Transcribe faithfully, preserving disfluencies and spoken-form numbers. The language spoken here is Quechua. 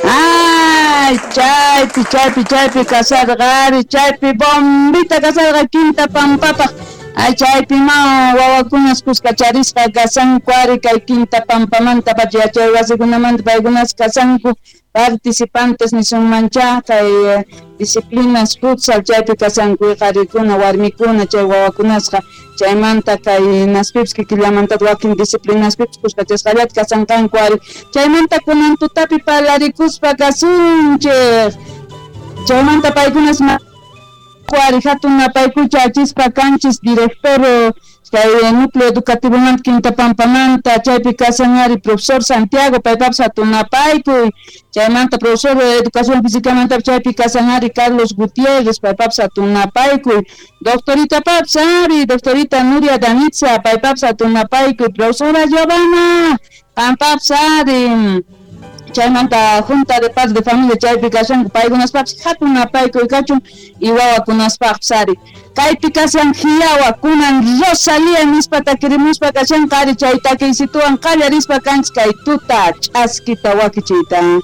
Ay, chaypi, chaypi, chaypi kasarqa ari, chaypi bombita kasarqa Quinta Pampapaq. Ay, chaypi ma wawakunas kuskacharisqa kasanku ari kay Quinta Pampamanta pacha yachay wasikunamanta paykunas kasanku participantes nisunmancha kay disciplinas futsal chaypi kasanku qarikuna warmikuna chay wawakunasqa chaymanta kay naspipis kikillamanta wakin disciplinaspipis kuskachasqallata kasanqanku ari chaymanta kunan tutapi parlarikuspa kasunchik chaymanta paykunas ari hatun napaykucha achispa kanchis director kay núcleo educativo manta Quinta Pampamanta chaypi kasan ari profesor Santiago paypapas hatun napaykuy chaymanta profesor de educación física chaypi kasan ari Carlos Gutiérrez paypapas hatun napaykuy doctorita paps ari doctorita Nuria Danitza paypapas hatun napaykuy profesora Giovanna pampaps ari chaymanta junta de padres de familia chaypi kashanku paykunaspapis hatun napaykuy kachun y wawakunaspaqpis ari kaypi kashan hiyawa kunan Rosalía nispa takirimuspa kashanqa ari chay takiysituwan qallarispa kanchik kay tuta ch'askita wakichiyta.